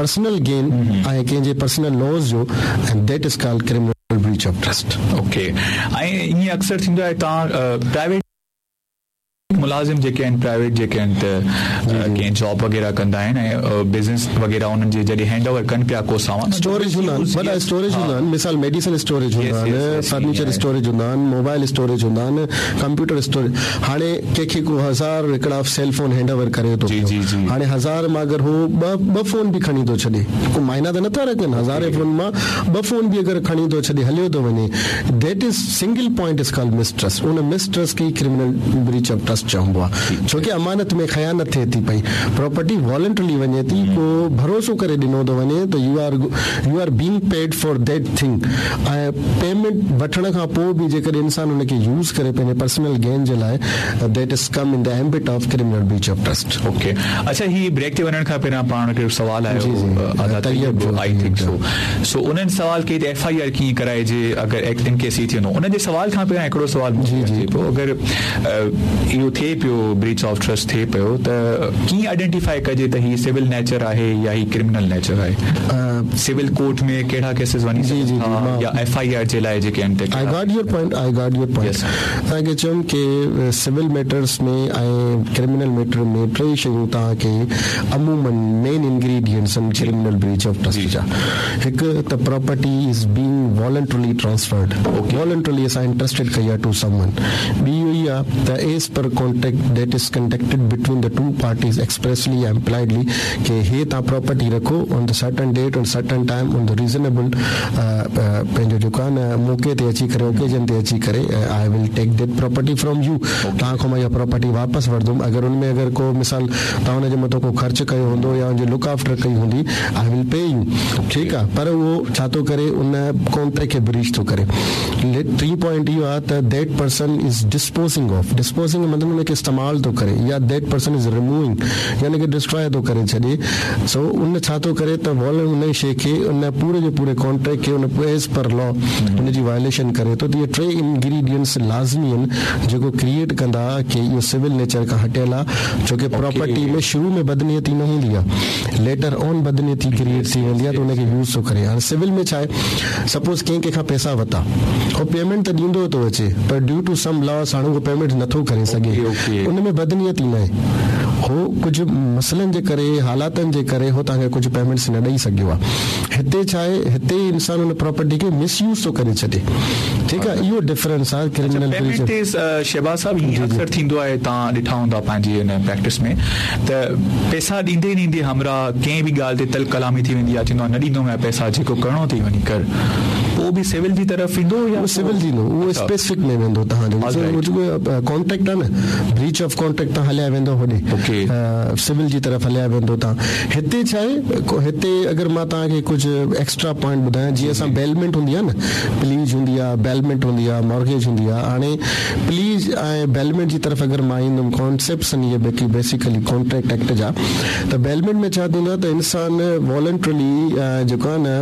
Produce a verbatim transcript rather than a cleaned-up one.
personal gain ۽ ڪنهن جي personal laws جو and that is called criminal breach of trust okay ۽ ائين اڪثر ٿيندو آهي توهان پرائيويٽ ملازم جيڪي آهن پرائيويٽ جيڪي آهن ته ڪنهن جاب وغيره ڪندا آهن ۽ بزنس وغيره انهن جي جڏهن هينڊ اوور ڪن پيا ڪو سامان اسٽوريج هوندا آهن وڏا اسٽوريج هوندا آهن مثال ميڊيسن اسٽوريج هوندا آهن فرنيچر اسٽوريج هوندا آهن موبائل اسٽوريج هوندا آهن ڪمپيوٽر اسٽوريج هاڻي ڪنهن کي ڪو هزار هڪڙا سيل فون هينڊ اوور ڪري ٿو پيو هاڻي هزار مان اگر هو ٻه ٻه فون به کڻي ٿو ڇڏي ڪو معنيٰ ته نٿا رکن هزارين فون مان ٻه فون به اگر کڻي ٿو ڇڏي هليو ٿو وڃي that is single point is called mistrust in mistrust کي ڪرمنل بريچ آف ٽرسٽ چئبو آهي ڇو ڪه امانت ۾ خيانت ٿئي ٿي پئي پراپرٽي والنٽرلي وڃي ٿي ڪو ڀروسو ڪري ڏنو ٿو وڃي ته you are you are being paid for that thing ۽ payment وٺڻ کان پوءِ به جيڪڏهن انسان ان کي يوز ڪري پنهنجي پرسنل گين جي لاءِ that is come in the ambit of criminal breach of trust okay اڇا هي بريڪ تي وڃڻ کان پهريان پاڻ کي سوال آيو I think so سو انهن سوال ڪئي ته ايف I R ڪيئن ڪرائجي اگر ان ڪيس هي ٿيندو ان جي سوال کان پهريان هڪڙو سوال جي جي پيو اگر اهو ٿئي پيو بريچ آف ٽرسٽ ٿئي پيو ته ڪيئن آئيڊينٽيفائي ڪجي ته هي سول نيچر آهي يا هي ڪرمنل نيچر آهي سول ڪورٽ ۾ ڪهڙا ڪيسز وڃي جي جي يا ايف I R جي لاءِ جيڪي آهن I got your point I got your point توهان کي چيم ڪه سول ميٽرس ۾ ۽ ڪرمنل ميٽر ۾ ٽي شيون توهان کي عمومن مين انگريڊينٽس آهن ڪرمنل بريچ آف ٽرسٽ جا هڪ ته property is being voluntarily transferred voluntarily اسان انٽرسٽيڊ ڪئي آهي ٽو سم ون ٻي اهو ئي آهي ته as per contract that is conducted between the two parties expressly يا امپلائڊلي ڪه هي توهان پراپرٽي رکو on the certain date on certain time on the reasonable پنهنجو جيڪو آهي نه موقعي تي اچي ڪري اوڪيزن تي اچي ڪري I will take that property from you توهان کان مان اها پراپرٽي واپس وٺندم اگر ان ۾ اگر ڪو مثال توهان هن جي مٿان ڪو خرچ ڪيو هوندو يا ان جي لڪ آفٽر ڪئي هوندي I will pay you ٺيڪ آهي پر اهو ڇا ٿو ڪري ان ڪانٽريڪٽ کي بريچ ٿو ڪري ٽين پوائنٽ اهو آهي ته that person is disposing of disposing مطلب ان کي استعمال ٿو ڪري يا that person is removing يعني ڪه ڊسٽرائي ٿو ڪري ڇڏي سو ان ڇا ٿو ڪري ته وال ان شيءِ کي ان پوري جو پوري ڪانٽريڪٽ کي ان ايز پر لا ان جي وايوليشن ڪري ٿو ته اهي ٽي انگريڊينٽس لازمي آهن جيڪو ڪريئيٽ ڪندا ڪه اهو سول نيچر کان هٽيل آهي ڇو ڪه پراپرٽي ۾ شروع ۾ بدنيتي نه هوندي آهي ليٽر آن بدنيتي ڪريئيٽ ٿي ويندي آهي ته ان کي يوز ٿو ڪري هاڻي سول ۾ ڇا آهي سپوز ڪنهن ڪنهن کان پئسا ورتا هو پيمينٽ ته ڏيندو ٿو اچي پر ڊيو ٽو سم لاس هاڻي اهو پيمينٽ نٿو ڪري سگهي ان ۾ بدنيتي نه آهي هو ڪجهه مسئلن جي ڪري حالاتن جي ڪري هو توهان کي ڪجهه پيمينٽس نه ڏيئي سگهيو آهي هتي ڇا آهي هتي انسان ان پراپرٽي کي مس يوز ٿو ڪري ڇڏي ٺيڪ آهي اهو ڊفرنس آهي ڪرمنل پيمينٽ تي شهباز صاحب ائين اڪثر ٿيندو آهي توهان ڏٺا هوندا پنهنجي ان پريڪٽس ۾ ته پئسا ڏيندي ڏيندي همراهه ڪنهن به ڳالهه تي تلخ ڪلامي ٿي ويندي آهي چوندو آهي نه ڏيندومانء پئسا جيڪو ڪرڻو اٿئي وڃي ڪر پوءِ به سول جي طرف ايندو يا سول ٿيندو اهو اسپيسفڪ ۾ ويندو توهان جو جيڪو ڪانٽريڪٽ آهي نه بريچ آف ڪانٽريڪٽ توهان هليا ويندو هوڏي سول جي طرف هليا ويندو توهان هتي ڇا آهي هتي اگر مان توهان کي ڪجهه ايڪسٽرا پوائنٽ ٻڌايان جيئن اسان بيلمينٽ هوندي آهي نه پليج هوندي آهي بيلمينٽ هوندي آهي مارگيج هوندي آهي هاڻي پليج ۽ بيلمينٽ جي طرف اگر مان ايندم ڪانسيپٽس آهن اهي باقي بيسڪلي ڪانٽريڪٽ ايڪٽ جا ته بيلمينٽ ۾ ڇا ٿيندو آهي ته انسان والنٽرلي جيڪو آهي نه